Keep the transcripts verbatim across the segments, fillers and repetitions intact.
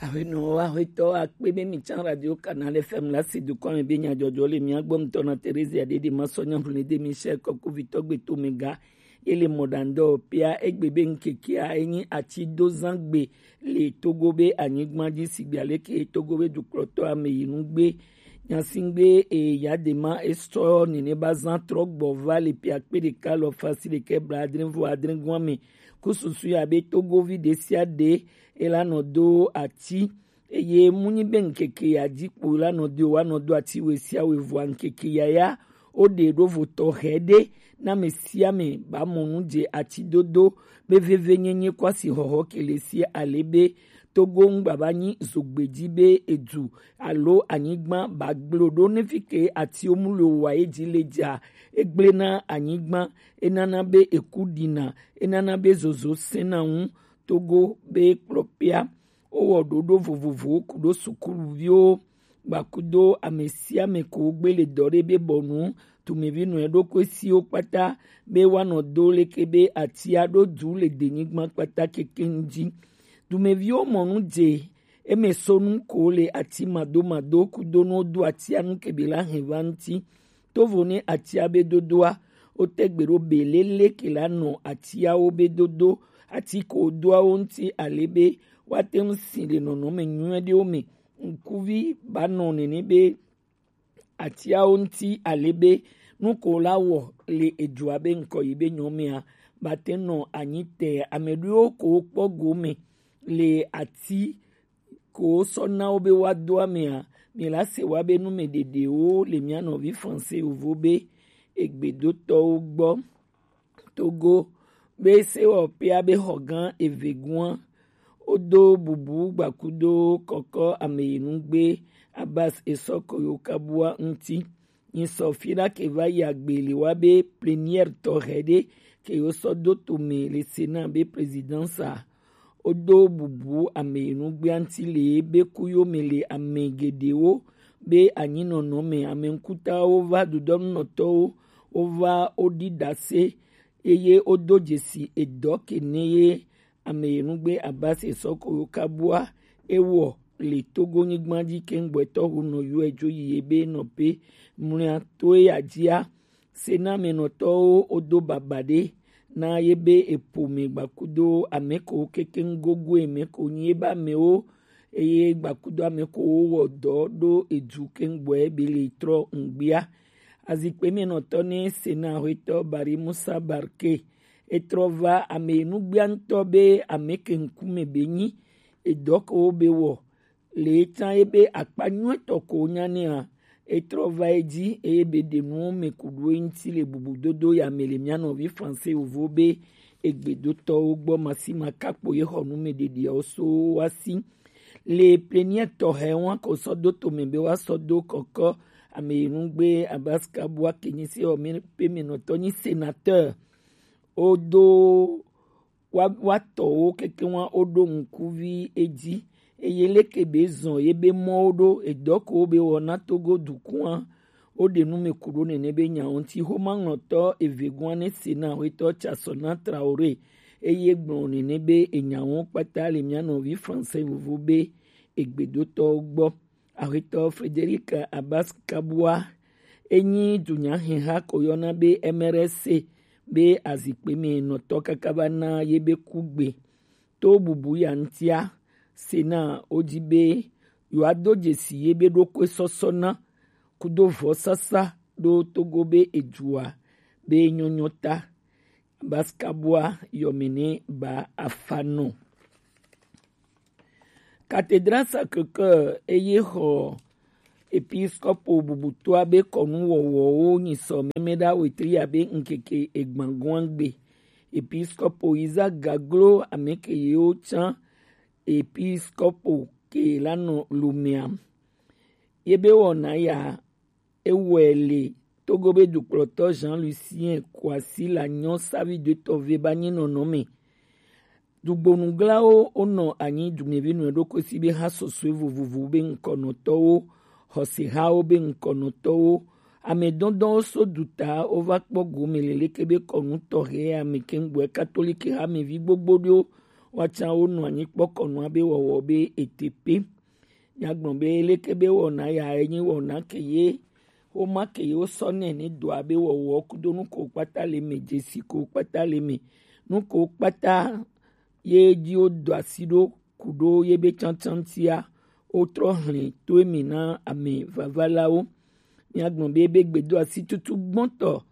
Aƒenɔwo, aƒetɔwo, akpe be mi tsã Radio Canal F M la si dukɔ me be nyadzɔdzɔ le mía gbɔ ŋutɔ na Teresia Ɖeɖe Masɔ Nyahulede Michel Kɔkuvitɔ Gbetomega. Ye le mɔɖaŋudɔ pia egbe be ŋkekea enyi atidozãgbe le Togo be anyigba dzi, sigbe aleke Togo be dukplɔtɔ ame yi nu gbe. Nyasingbe e ya de ma esɔ nene ba zã trɔ gbɔ va le pia kpe ɖeka lɔ fasi ɖekɛ bla adre vɔ adre gɔa me. Ku susu ya be Togovi ɖe sia ɖe e la nɔ do ati, eye mu nyi be ŋkeke ya dzi kpo la nɔ do wa nɔ do ati we sia we vɔa ŋkeke ya ya o ɖe ɖo vo tɔxɛ ɖe na me sia me ba mɔ nu dze ati dodo be veve nyenye kwasi xɔxɔ kele si ale be Togo ŋgba ba nyi zogbe dzi be edu alo anyigba ba gblo ɖo ne fi ke atiwo mu le wa ye dzi le dza. Egblẽ na anyigba, enana be eku ɖina, enana be zozo sẽna ŋu. Togo be kplɔ pia. Wowɔ ɖoɖo vovovowo ku ɖo sukuluviwo gbakudo ame sia ame ko gbele dɔ ɖe be bɔnu tumevi nɔ eɖokui siwo kpata be woanɔ do leke be atia ɖo du le denyigba kpata keke ŋu dzi. Dumeviwo mɔ nu dze eme so nu ko le ati madomado kudo nuwo do atia nu kebe la hɛn va ŋuti. Tovo ne atia be dodoa, wote gbe ɖo be lele ke la nɔ atiawo be dodo, ati ko doawo ŋuti ale be woate ŋu si le nɔnɔme nyui aɖewo me. Ŋkuvi ba nɔ nene be atiawo ŋuti ale be nu ko la wɔ le edua be ŋkɔ yi be nyɔmea ba te nɔ anyi te. Ame ɖewo ko kpɔ gome le ati ko sɔ na wo be woado amea, mi la se wa be nu me ɖeɖewo le mia nɔvi Français yovo be egbedotɔwo gbɔ. Togo be sewɔƒea be xɔ gã eve gua wodo bubu gbakudo kɔkɔ ameyinugbe Abbas Esɔko yo kabua ŋuti. Nyi sɔ fi ɖa ke va yi agbe le wa be plénière tɔxɛ ɖe ke yo sɔ do to me le Sénat be présidence a. Wodo bubu ame yi nugbea ŋuti le be ku yo me le ame geɖewo be anyinɔnɔ me. Ame ŋkutawo va dudɔnunɔtɔwo wova woɖi ɖase eye wodo dzesi edɔ ke ne ye ame yi nugbe Abbas Esɔko yo kabua ewɔ le Togo nyigba dzi keŋgbɔetɔ ho nɔ yɔe dzo yi ye be nɔƒe mlɔa to eya dzia. Senamenɔtɔwo wodo baba ɖe na ye be eƒo me gbakudo ame ko kekeŋ gogoe me ko nyi ye be amewo eye gbakudo ame ko wowɔ dɔ ɖo edu keŋgbɔe be le trɔ ŋgbia. Azikpe me nɔtɔ ne Sena hwetɔ Bari Musa Barke etrɔ va ame nugbia ŋutɔ be ame ke ŋkume be nyi edɔ ko wo be wɔ le tsã ye be akpa nyuitɔ ko nya nɛa etrɔ va edzi eye be ɖe nuwo me ku ɖo eŋuti le bubudodo ya me le mia nɔvi Français yovo be egbedotɔwo gbɔ masi makakpo ye xɔ nu me ɖeɖiawo so wa si. Le pleniɛ tɔxɛ wa ko sɔ do to me be wa sɔ do kɔkɔ ame yi nugbe Abaska bua ke nyi se ɔ me pe me nɔtɔ nyi sénateur. Wodo wa wa tɔwo keke wa woɖo ŋkuvi edzi eye leke be zɔn ye be mɔwo ɖo edɔ ko be wɔna Togo dukua woɖe nu me ku ɖo nene be nya ŋuti. Xoma ŋlɔtɔ eve gua ne Sena hwetɔ Tsasɔna Traoré eye gblɔ nene be enya wo kpata le mia nɔvi Français vovo be egbedotɔwo gbɔ. Aƒetɔ Frederic Abbas Kabua enyi dunyaheha ko yɔna be M R S C be azikpe me nɔtɔ kaka va na ye be kugbe. To bubu ya ŋutia, Sena wodi be yewoado dzesi ye be ɖokui sɔsɔ na kudo vɔsasa ɖo Togo be edua be nyɔnyɔ ta. Abbas Kabua yɔme ne ba afa nɔ. Cathédrale Sacré-Cœur eye xɔ episkopo bubutoa be kɔnu wɔwɔwo nyi sɔ mɛmɛ ɖa wetri abe ŋkeke egbangoa gbe. Episkopo Isaac Gaglo ame ke yewo tsã episkopo ke la nɔ Lomea. Ye be wɔna ya ewɔe le Togo be dukplɔtɔ Jean Lucien Kouassi la nyɔ savi do tɔ ve ba nyi nɔnɔ me. Dugbonuglawo wonɔ anyi dumevi nɔ ɖokui si be ha sɔsɔe vovovo be ŋkɔnɔtɔwo, xɔsehawo be ŋkɔnɔtɔwo, ame dɔdɔwo so duta wova kpɔ gome le leke be kɔnu tɔxɛ ame kɛngbɔɛ katolike hamevi gbogbo ɖewo kpacan wo nɔ anyi kpɔkɔ nua be wɔwɔ be ete pe. Míagblɔ be leke be wɔna ya enyi wɔna ke ye woma ke ye wosɔ nɛ ne dɔa be wɔwɔ kudo nu ko kpata le me, dzesi ko kpata le me, nu ko kpata ye dzi wodɔ asi ɖo ku ɖo ye be tsantsantia, wotrɔ hlẽ to emi na ame vavalawo. Míagblɔ be ebe gbedoasi tutu gbɔtɔ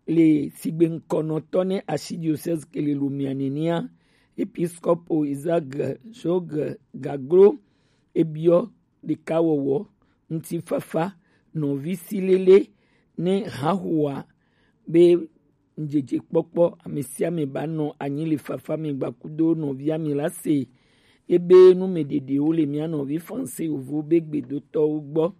le sigbe ŋkɔnɔtɔ ne archidiocèse ke le Lomé nenia, episkopo Isaac Jogues Gaglo, ebiɔ ɖekawɔwɔ, ŋutifafa, nɔvisilele ne hahoa be ŋdzedze kpɔkpɔ, ame sia ame ba nɔ anyi le fafa me gbakudo nɔvia mi la se. Ebe nu me ɖeɖewo le mía nɔvi Français yovo be gbedotɔwo gbɔ.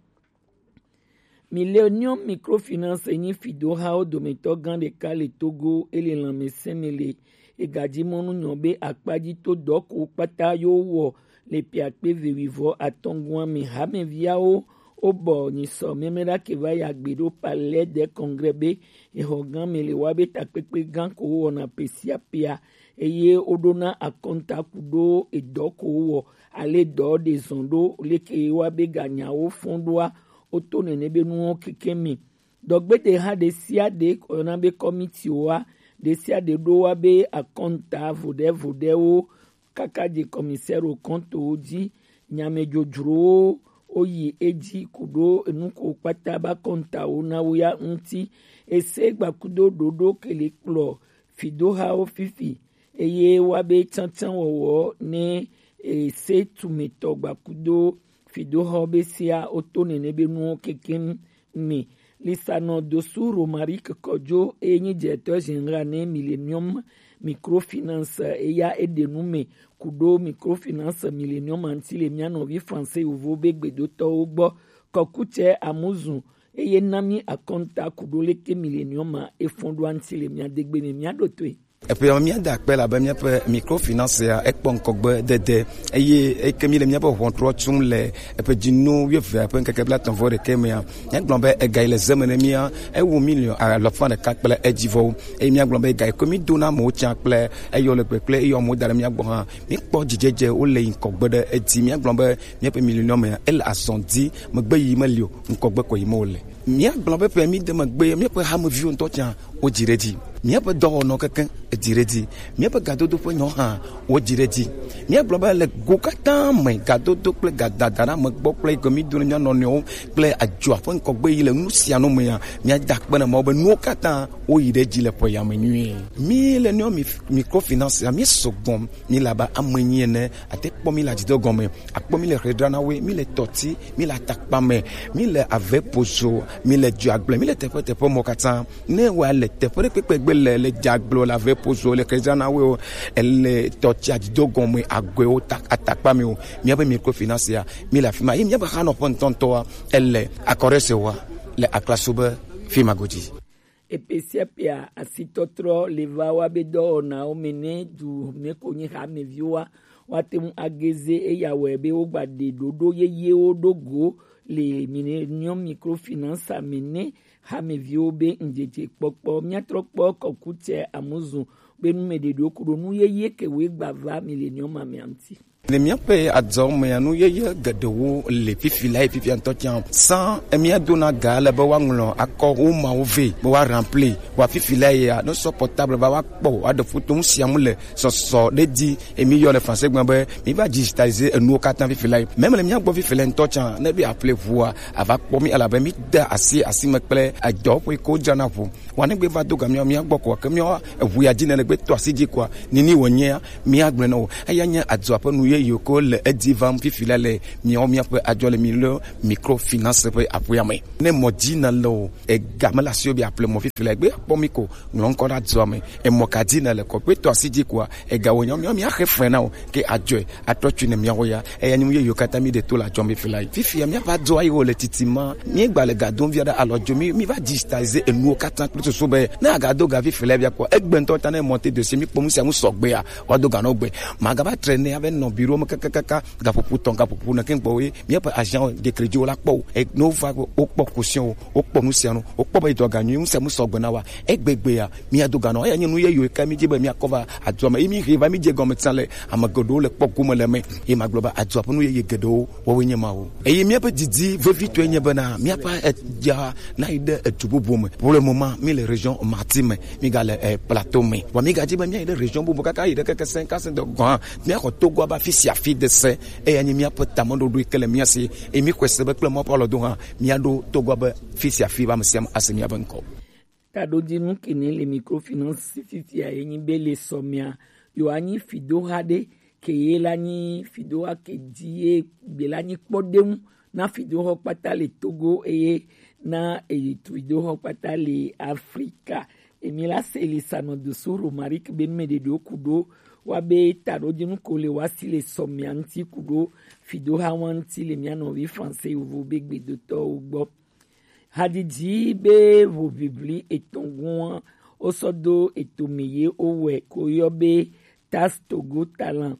Millennium Microfinance nyi fidohawo dometɔ gã ɖeka le Togo, ele lãmesẽ me le egadzi mɔnu nyɔ be akpa dzi to dɔ ko kpata yo wɔ le piakpe vewivɔ atɔngua me. Hameviawo wobɔ nyisɔ mɛmɛɖa ke va yi agbe ɖo Palais des Congrès be exɔ gã me le wa be takpekpe gã ko wɔna pe sia pea, eye woɖona akɔnta ku ɖo edɔ ko wɔ ale dɔ ɖe zɔn ɖo leke wa be ganyawo fɔn ɖoa, woto nene be nuwo keke me. Dɔgbede ha ɖe sia ɖe ko yɔna be kɔmitiwo wa, ɖe sia ɖe ɖo wa be akɔnta voɖe voɖewo kaka dze commissaire aux comptes wo dzi. Nyamedzodzrowo woyi edzi ku ɖo enu ko kpata ba kɔntawo na wo ya ŋuti. Ese gbakudo ɖoɖo ke le kplɔ fidohawo fifi, eye wa be tsantsan wɔwɔ ne ese tumetɔ gbakudo fidohawo be sia woto nene be nuwo kekeŋ me. Lisanɔ Dosu Romaric Kojo, eye nyi directeur général ne Millennium Microfinance, eya eɖe nu me ku ɖo Microfinance Millennium ŋuti le mía nɔvi Français yovo be gbedotɔwo gbɔ. Kɔkutsɛ Amuzu, eye na mí akɔnta ku ɖo leke Millennium a efɔn ɖoa ŋuti le mía degbe me, mía ɖo toe. Eƒe ya míada akpe elabe míaƒe microfinance ya ekpɔ ŋkɔgbe dede eye eke míle míaƒe ʋɔntrɔ tum le eƒe dzinu wuieve ƒe ŋkeke blaetɔ̃ vɔ ɖekɛ mea, míagblɔ be ega yi le ze me ne mía ewu miliɔn alafa ɖeka kple edzivɔwo, eye míagblɔ be ega yi ke mídona amewo tsã kple eyɔ le kpekple eye amewo da ɖe mía gbɔ hã, míkpɔ dzidzedze wole yi ŋkɔgbe ɖe edzi. Míagblɔ be míaƒe milenium ya ele azɔ di, megbe yi meli o, ŋkɔgbe ko yi me wòle. Míagblɔ be ƒe mí de megbe míaƒe hameviwo ŋutɔ tsã wodzi ɖe edzi. Míaƒe dɔwɔnɔ kekeŋ edzi ɖe edzi. Míaƒe gadodo ƒe nyawo hã wodzi ɖe edzi. Míagblɔ be le go katã me, gadodo kple gadada na megbɔ kple yi ke mído na mía nɔnɔewo kple adzoa ƒe ŋkɔgbe yi le nu sia nu mea, míada akpe na Mawu be nuwo katã woyi ɖe edzi le ƒe ya me nyuie. Mí le míawo mi-, microfinance ya, míesɔ gbɔ, míle abe ame enyi ene, ate kpɔ mí le adzido gɔme, akpɔ mí le Xedranawoe, mí le Tɔti, mí le Atakpame, mí le Avepozo, mí le Dzoagble, mí le teƒe teƒe mɔ katã. Ne wa le teƒe ɖe kpekpe gbe le, le Dzoagble, le Avepozo, le Xedranawoe o, ele Tɔti adzido gɔme, Agɔewo, Ta-, Atakpame o, míabe microfinance ya, mí le afi ma. Ye míabe xanɔƒe ŋutɔŋutɔa, ele Akɔɖesewa, le Aklaso be fi ma godzi. Epe sia pea asitɔtrɔ le va wa be dɔwɔnawo me ne du me ko nyi hameviwoa, woate ŋu ageze eya wɔe be wogba ɖe ɖoɖo yeyewo ɖo go le Millennium Microfinance me ne hameviwo be ŋdzedze kpɔkpɔ. Míatrɔ kpɔ kɔkutsɛ Amuzu be numeɖeɖewo ku ɖo nu yeye ke woe gba va Millennium mea ŋuti. Le míaƒe adɔ mea, nu yeye geɖewo le fifi la, ye fifia ŋutɔ tsã. Sans mía dona ga ale be woaŋlɔ akɔ wo mawo vɛ be woa remplir. Wa fifi la ya, ne sɔ portable va, woakpɔ, woaɖe foto, nu sia nu le sɔsɔ ɖe dzi, emi yɔ le français gblɔ be mi va digitaliser enuwo katã fifi la. Même le mía gbɔ fifi la ŋutɔ tsã, ne be appeler ʋua, ava kpɔ mi elabe mi de asi, asi me kple edɔ ƒe ko dzrana ʋu. Wa ne gbe va do ga mía, mía gbɔ koa, ke mía eʋu ya dzi ne le gbe to asi dzi koa, nini wònyea, mía gblɔe na wò. Eya nye adzɔa ƒe nu yeye ko le edzi vam fifi la le míawo míaƒe adzɔ le mi le microfinance ƒe aƒea me. Ne mɔ dzi na le o, ega me le asiwò be apple mɔ fifi la, gbe kpɔ mi ko, ŋlɔ ŋkɔ ɖe adzɔa me. Emɔ ka dzi na le kɔ, gbe to asi dzi koa, ega wònyea, mía, mía xe fre na wò, ke adzɔe atrɔ tui ne míawo ya. Eya nyi nu yeye katã mi ɖe to le adzɔ me fifi la. Fifi ya míava dzo ayi wo le titi ma. Míegba le ga dom via ɖe alɔ dzo. Mi, mi va digitaliser enuwo katã kple susu be ne aga do ga fifi la via kpɔ. Egbe ŋutɔ ta ne monter dossier, mi kpɔ nu sia nu sɔgbea, wa do ga no gbe. Magava traîner ave nɔ bureau ɖo me kakakaka, gaƒoƒo tɔn, gaƒoƒo ne kɛn gbɔ ye, míaƒe agent de crédit wo la kpɔ o. E, ne wova, wokpɔ caution o, wokpɔ nu sia nu, wokpɔ be dɔga nyui, nu sia nu sɔgbe na wa. Egbegbe ya, míado ga nɔ, eya nye nu yeye ka mí dzi be míakɔ va adua me. Ye mí he va mí dze gɔme tsã le, ame geɖewo le kpɔ gome le me. Ye magblɔ be adua ƒe nu yeye geɖewo wɔwoe nye ma o. Eye míaƒe didi vevitɔe nye bena míaƒe edza na yi ɖe edu bubu me. Pour le moment, mí le région Martinique me, mí ga le, eh, plateau me. Vɔ mí ga dzi be mía yi ɖe région bubu kaka yi ɖe keke sẽŋ kasẽ de gɔ̃ hã, míaxɔ Togo abe afi sia afi de se. Eya nye míaƒe tameɖoɖo yi ke le mía si. Eye mí xɔe se be kple Mawu ƒe alɔdo hã, míaɖo Togo abe afi sia afi be ame sia ame ase míaƒe ŋkɔ. Taɖodzinu kene le microfinance fifia ye nyi be le sɔmia, yewoanyi fidoha ɖe ke ye la nyi fidoha ke dzi ye gbe la nyi kpɔɖeŋu na fidoha kpata le Togo eye na eyi fidoha kpata le Afrika. Emi la se le sanɔ dosu Romaric be nume ɖeɖewo ku ɖo wa be taɖodzinu ko le wa si le sɔmia ŋuti ku ɖo fidoha wa ŋuti le mia nɔvi français yovo be gbedotɔwo gbɔ. Hadidi be ʋoʋiʋli etɔ̃ gɔ̃a wosɔ do etome ye wowɔe ko yɔ be Tas Togo Talent.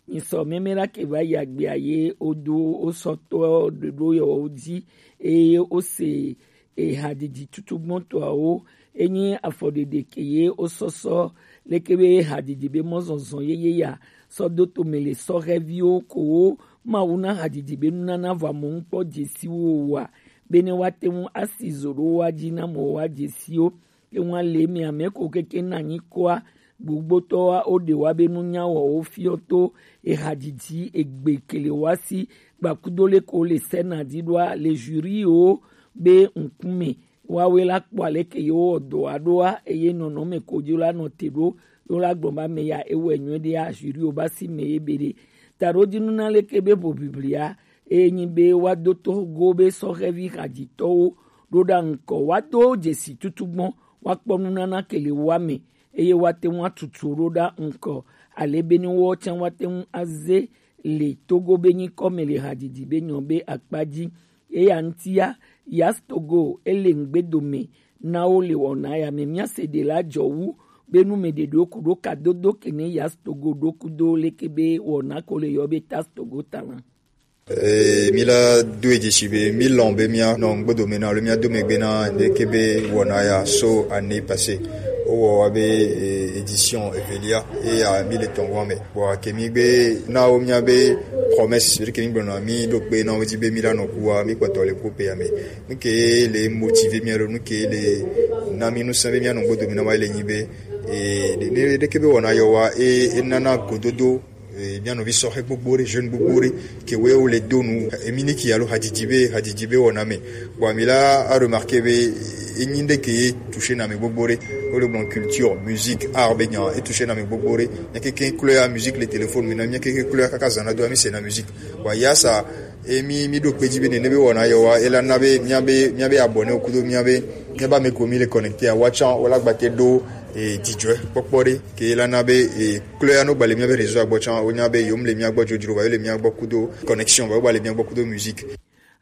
Nyisɔ mɛmɛ la ke va yi agbea ye wodo wosɔ tɔ ɖoɖo yɔwo dzi eye wose ehadidi tutugbɔtɔawo enyi afɔɖeɖe ke ye wosɔsɔ leke be hadidi be mɔzɔzɔ yeye ya sɔ do tome le sɔhɛviwo kowo Mawu na hadidi be nunana vɔ amewo ŋkpɔ dzesiwo wa bene woate ŋu asi zo ɖo woa dzi na amewo woa dzesiwo. Ke ŋu ale mia mɛ ko keke na anyi koa gbogbotɔwa wo ɖe wa be nunya wɔwo fiɔ to ehadidi egbe kele wa si gbakudo le ko le sɛna di ɖoa le juriwo be ŋkume. Woawoe la kpɔ aleke yewo wɔ dɔ aɖoa eye nɔnɔme ko dzi la nɔ te ɖo yewo la gblɔ be ame ya ewɔe nyuie ɖea juriwo ba si me ye be ɖe. Taɖodzinu na leke be ʋoʋiʋlia eye nyi be woado togo be sɔhɛvi hadzitɔwo ɖo ɖa ŋkɔ woado dzesi tutugbɔ woakpɔ nunana ke le woa me eye woate ŋu atutu ɖo ɖa ŋkɔ ale be ne woawo tsã woate ŋu aze le Togo be nyikɔ me le hadzidzi be nyɔ be akpa dzi. Eya ŋutia, Yas Togo ele ŋgbedome na wo le wɔna ya me. Míase ɖe la dzɔ wu be nu me ɖeɖewo ku ɖo kadodo ke ne Yas Togo ɖo kudo leke be wɔna ko le yɔ be Tas Togo Talent. Ee, mi la do edzi si be mi lɔn be mia nɔ ŋgbedome na alo mia do megbe na ɖeke be wɔna ya so année passée. Wowɔ wa be, eh, édition evelia eya mi le tɔn wa me. Bon, ke mi gbe na wo mia be promesse, ke mi gblɔ na mi ɖo gbe na wo dzi be mi la nɔ kua mi kpɔtɔ le groupe ya me. Nu ke le motiver mia ɖo, nu ke le na mi nu sã be mia nɔ ŋgbedome na wa le nyi be, eh, ɖe, ɖe, ɖeke be wɔna yɔ wa e, e nana gododo. Eh, mia nɔvi sɔhɛ gbogbo ɖe, jeune gbogbo ɖe, ke woe wo le do nu, eh, emi ni ki alo hadidi be, hadidi be wɔna me. Bon, mi la a remarquer be, eh, enyi ɖe ke toucher na me gbogbo ɖe. Wo le gblɔ culture, musique, art be nya, e toucher na me gbogbo ɖe. Mia keke klɔa musique le téléphone me na, mia keke klɔa kaka zana do mi se na musique. Bon, ya sa, e mi, mi ɖo kpe dzi be nene be wɔna yɔ wa, e la na be, mia be, mia be abonné wo kudo, mia be, mia ba me ko mi le connecté a, wa tsã, wo la gbate ɖo, eh, dzidzɔe kpɔkpɔ ɖe, ke e la na be, eh, klɔa no gba le mia be réseau agbɔ tsã, wo nya be yom le mia gbɔ dzodzro, va yo le mia gbɔ kudo connexion, va yo gba le mia gbɔ kudo musique.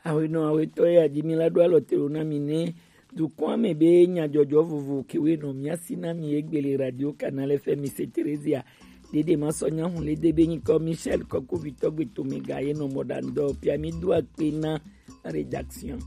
Awenɔ awetɔ ya dzi mi la ɖo alɔ te ɖo na mi ne dukɔa me be nyadzɔdzɔ vovo kewe nɔ mia si na mi egbe le Radio Canal F M se Theresia. Dede ma sɔ nya hun le de be nyikɔ Michel Kɔkovitɔ gbe to me ga ye nɔ mɔ ɖa ŋdɔ pia mi do akpe na rédaction.